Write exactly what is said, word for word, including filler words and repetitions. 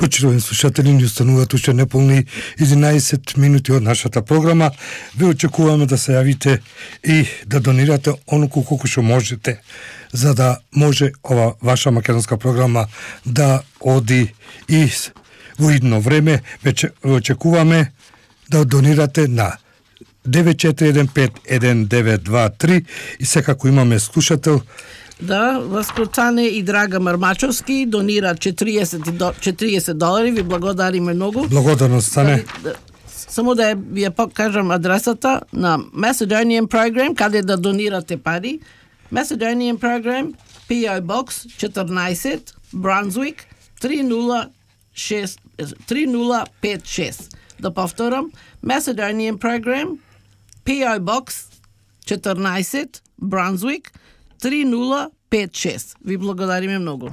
Почитувани слушатели, ни остануваат уште неполни единаесет минути од нашата програма. Ви очекуваме да се јавите и да донирате онолку колку што можете, за да може ова ваша македонска програма да оди и во идно време. Веќе очекуваме да донирате на девет четири еден пет еден девет два три и секако имаме слушател. Да, Васкрутане и Драга Мармачовски донира четириесет долари, ви благодариме многу. Благодарност стане. Само да ви ја покажам адресата на Macedonian Program, каде да донирате пари. Macedonian Program, P O Box четрнаесет, Brunswick три нула пет шест. Да повторам, Macedonian Program, P O Box четрнаесет, Brunswick три нула пет шест. Ви благодариме многу.